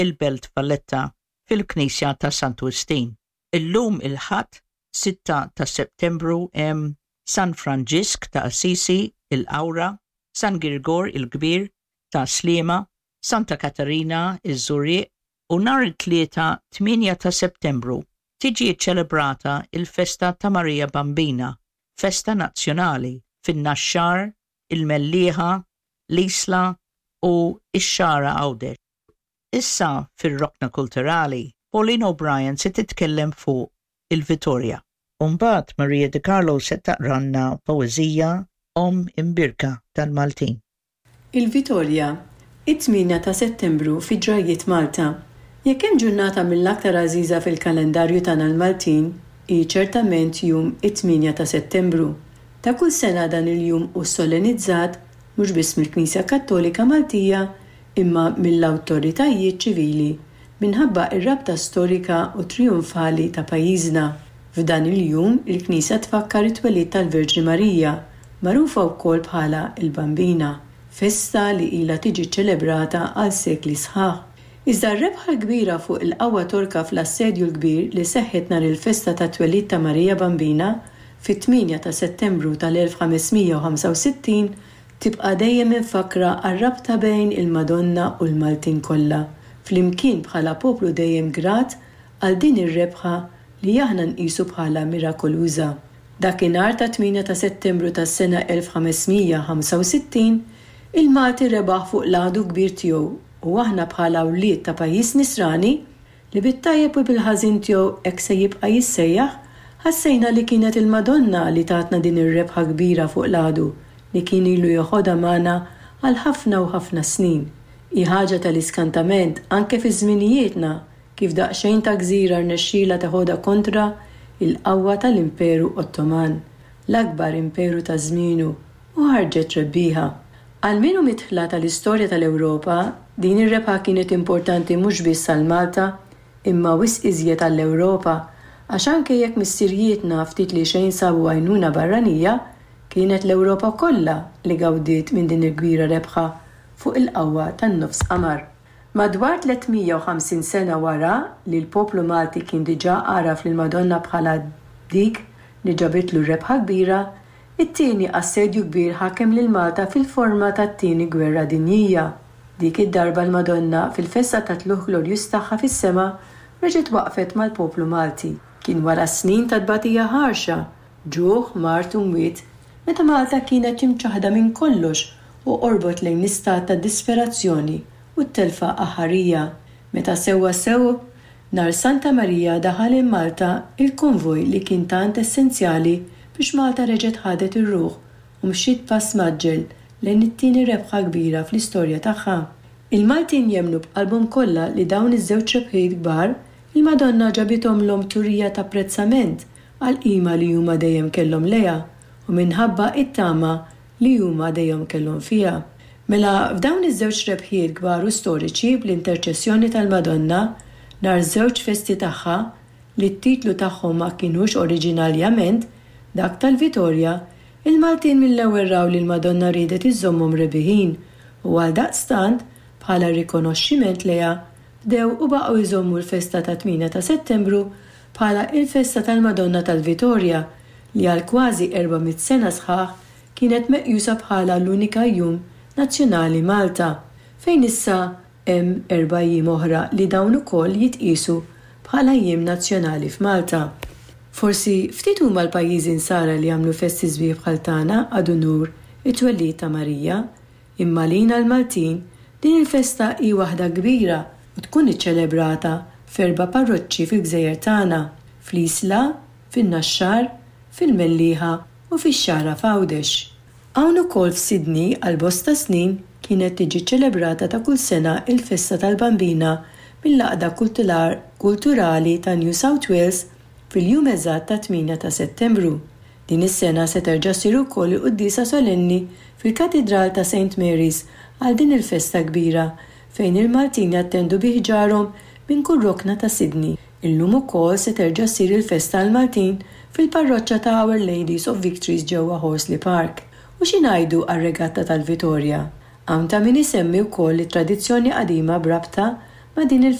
il-Belt Valletta fil-Knisja ta' Santu Wistin. Illum il-Ħadd, 6 ta' Settembru hemm San Franġisk ta' Assisi, il-Qawra, San Girgor il-Kbir, ta' Sliema, Santa Katarina, iż-Żurrieq, u nhar it-Tlieta 8 ta' Settembru tiġi ċċelebrata l-festa ta' Marija Bambina, festa nazzjonali, fin-Naxxar, il-Mellieħa, l-Isla u x-Xagħra Għawdex. Issa fir-Rokna Kulturali, Pauline O'Brien se titkellem fuq il-Vitorja. U mbagħad Maria De Carlo se taqralna poeżija Omm Imbierka tal-Maltin. Il-Vitorja, it-tmienja ta' Settembru fi Ġrajjiet Malta. Jekk hemm ġurnata mill-aktar għażiża fil-kalendarju tagħna l-Maltin, hi ċertament jum it-tmienja ta' Settembru. Ta' kull sena dan il-jum hu sollenizzat mhux biss mill-Knisja Kattolika Maltija imma mill-awtoritajiet ċivili minħabba r-rabta storika u trijunfali ta' pajjiżna. F'dan il-jum il-Knisja tfakkar it-twelid tal-Verġni Marija, magħrufa wkoll bħala l-Bambina, festa li ilha tiġi ċċelebrata għal sekli sħaħ. Iżda r-rebħa l-kbira fuq il-qawwa Torka fl-Assedju l-Kbir li seħħet nhar il-festa tat-twelid ta' Marija Bambina, fit-tmienja ta' Settembru tal-1565, tibqa' dejjem imfakkra għar-rabta bejn il-Madonna u l-Maltin kollha, flimkien bħala poplu dejjem grat għal din ir-rebħa li aħna nqisu bħala mirakoluża. Dakinhar tat-tmienja ta' Settembru tas-sena 1565, il-Malti rebaħ fuq l-għadu kbir tiegħu u aħna bħala wlied ta' pajjiż Nisrani, li bit-tajjeb u bil-ħażin tiegħu hekk se jibqa' jissejjaħ, ħassejna li kienet il-Madonna li tatna din ir-rebħa kbira fuq l-għadu li kien ilu jeħodha magħna għal ħafna u ħafna snin. Hi ħaġa tal-iskantament anke fi żminijietna kif daqsxejn ta' gżira rnexxielha teħodha kontra l-qawwa tal-Imperu Ottoman, l-akbar imperu ta' żmienu, u ħarġet rebbieħa. Għal min hu midħla tal-istorja tal-Ewropa, din ir-rebħa kienet importanti mhux biss għal Malta, imma wisq iżjed għall-Ewropa, għax anke jekk missirijietna ftit li xejn sabu għajnuna barranija, kienet l-Ewropa kollha li gawdiet minn din il-kbira rebħa fuq il-qawwa tan-nofs qamar. Madwar 350 sena wara li l-poplu Malti kien diġà għaraf lill-Madonna bħala dik li ġabitlu r-rebħa kbira, it-Tieni Assedju Kbir ħakem lil Malta fil-forma tat-Tieni Gwerra Dinjija. Dik id-darba l-Madonna, fil-festa tat-Tlugħ Glorjuż tagħha fis-sema, reġgħet waqfet mal-poplu Malti. Kien wara snin ta' tbatija ħarxa, ġuħ, mard u mwiet, meta Malta kienet imċaħħda minn kollox u qorbot lejn l-istat ta' disperazzjoni u t-telfa aħħarija, meta sewwa sew nhar Santa Marija daħal in Malta il-konvoj li kien tant essenzjali biex Malta reġgħet ħadet ir-ruħ u mxiet b'pass mgħaġġel lejn it-tieni rebħa kbira fl-istorja tagħha. Il-Maltin jemmnu b'qalbhom kollha li dawn iż-żewġ rebħiet kbar il-Madonna ġabithomlhom turija t'apprezzament għall-qima li huma dejjem kellhom lejha u minħabba t-tama li huma dejjem kellhom fiha. Mela f'dawn iż-żewġ rebħiet kbar u storiċi bl-interċessjoni tal-Madonna nhar żewġ festi tagħha, li t-titlu tagħhom ma kinux oriġinaljament dak tal-Vitorja, il-Maltin mill-ewwel raw li l-Madonna riedet iżżommhom rebiħin u għaldaqstant bħala rikonoxximent lejha bdew u baqgħu jżommu l-festa tat-tmienja ta' Settembru bħala il-festa tal-Madonna tal-Vitorja li għal kważi 400 sena sħaħ kienet meqjusa bħala l-unika jum nazzjonali Malta, fejn issa hemm erba' jiem oħra li dawn ukoll jitqiesu bħala jiem nazzjonali f'Malta. Forsi ftit huma l-pajjiżi Nsara li jagħmlu festi sbieħ bħal tagħna ad unur it-twellid ta' Marija, imma għalina l-Maltin din il-festa hi waħda kbira u tkun iċċelebrata f'erba' parroċċi fil-gżejjer tagħna, fl-Isla, fin-Naxxar, fil-Mellieħa u fix-Xagħra f'Għawdex. Hawn ukoll f'Sydney għal bosta snin kienet tiġi ċċelebrata ta' kull sena il-festa tal-Bambina mill-Għaqda Kulturali ta' New South Wales fil-jum eżatt tat-tmienja ta' Settembru. Din is-sena se terġa' ssir ukoll il-quddiesa solenni fil-Katidral ta' Saint Mary's għal din il-festa kbira fejn il-Maltin jattendu bi ħġarhom minn kull rokna ta' Sydney. Illum ukoll se terġa' ssir il-festa għall-Maltin fil-parroċċa ta' Our Ladies of Victories ġewwa Horsley Park. U xi ngħidu għar-Regatta tal-Vitorja? Hawn ta' min isemmi wkoll it-tradizzjoni qadima b'rabta ma' din il.